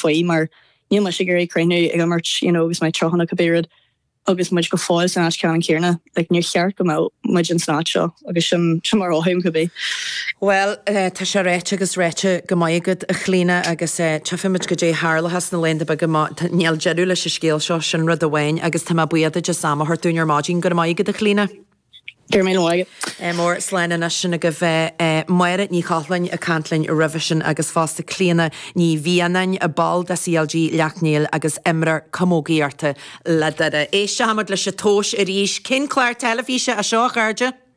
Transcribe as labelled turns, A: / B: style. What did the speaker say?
A: faoi mar níl mise ag iarraidh críochnú ag imirt you know agus mé 30 nó cibé rud agus muid go fóill san áit ceannann céanna. Like níor cheart go mbeadh muid in san áit seo agus sin sin mar a mhothaím cibé.
B: Bhuel, tá sé ráite agus ráite go maith agat, a Chlíona, agus tchífimid goidé tharlóchas sna laethanta beaga má níl deireadh leis an scéal seo, sin rud amháin, agus tá mé buíoch duit as am a thabhairt dúinn ar maidin. Go raibh maith agat, a Chlíona.
A: Go raibh míle maith agat.
B: Mór slán anois sin agaibh Máire Ní Chochláin ag caint linn roimhe sin agus fosta Clíona Ní Mhianáin, ball de CLG Leacht Néill agus imreoir camógaíochta le Doire. Éistfimid leis an tomhas arís. Cén clár teilifíse é seo, a chairde?